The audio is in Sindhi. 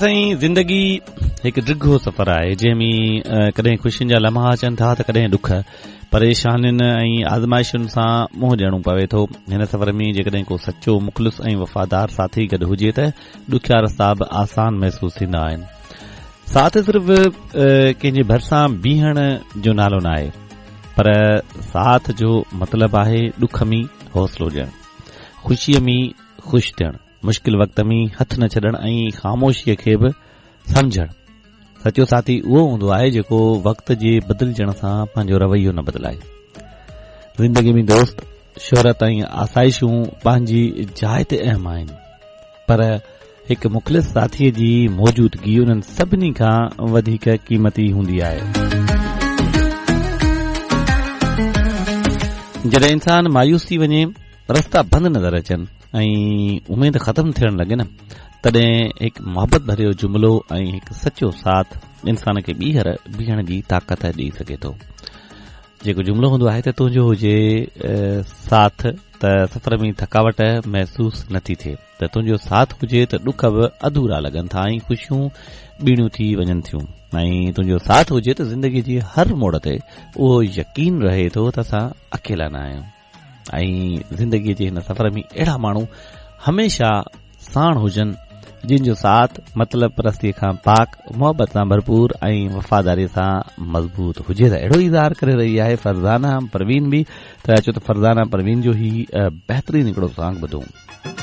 سائين زندگي هڪ ڊگهو سفر آهي جنهن ۾ ڪڏهن خوشين جا لمحا اچن ٿا ته ڪڏهن ڏک پريشانين ۽ آزمائشن سان منهن ڏيڻو پوي ٿو هن سفر ۾ جيڪڏهن ڪو سچو مخلص ۽ وفادار ساٿي گڏ هجي ته ڏکيا رستا به آسان محسوس ٿيندا آهن ساٿ صرف ڪنهن جي ڀرسان بيهڻ جو نالو ناهي پر ساٿ جو مطلب آهي ڏک ۾ حوصلو ڏيڻ خوشيء ۾ خوش ٿيڻ مشڪل وقت ۾ هٿ نه ڇڏڻ ۽ خاموشيء کي به سمجهڻ. سچو ساٿي اهو هوندو آهي جيڪو وقت جي بدلجڻ سان پنهنجو رويو نه بدلائي. زندگيء ۾ دوست، شهرت ۽ آسائشون پنهنجي جاء تي اهم آهن، پر هڪ مخلص ساٿيء جي موجودگي انهن سڀني کان وڌيڪ قيمتي هوندي آهي. جڏهن انسان مايوس ٿي وڃي، رستا بند نظر اچن ۽ اميد ختم ٿيڻ لڳي نه تڏهن هڪ محبت ڀريو جملو ۽ هڪ سچو ساٿ انسان کي ٻيهر بيهڻ جي طاقت ڏئي سگهي ٿو. جيڪو جملو هوندو آهي ته تنهنجو هجي ساٿ ته سفر ۾ ٿڪاوٽ محسوس نٿي ٿئي ته تنهنجو ساٿ هجي ته ڏک به اڌورا لڳن ٿا ۽ خوشيون ٻيڻيون ٿي وڃن ٿيون ۽ تنهنجو ساٿ هجي ته زندگي جي هر موڙ تي اهو يقين رهي ٿو ته اسان اڪيلا نه آهيون. ۽ زندگيء جي هن سفر ۾ اهڙا ماڻهو هميشه ساڻ هجن جن جو ساٿ مطلب پرستيء کان پاڪ، محبت سان ڀرپور ۽ وفاداريء سان مضبوط هجي ته اهڙو اظهار ڪري رهي آهي فرزانه پروين به ته اچو ته فرزانه پروين جو هي بهترين هڪڙو سانگ ٻڌون.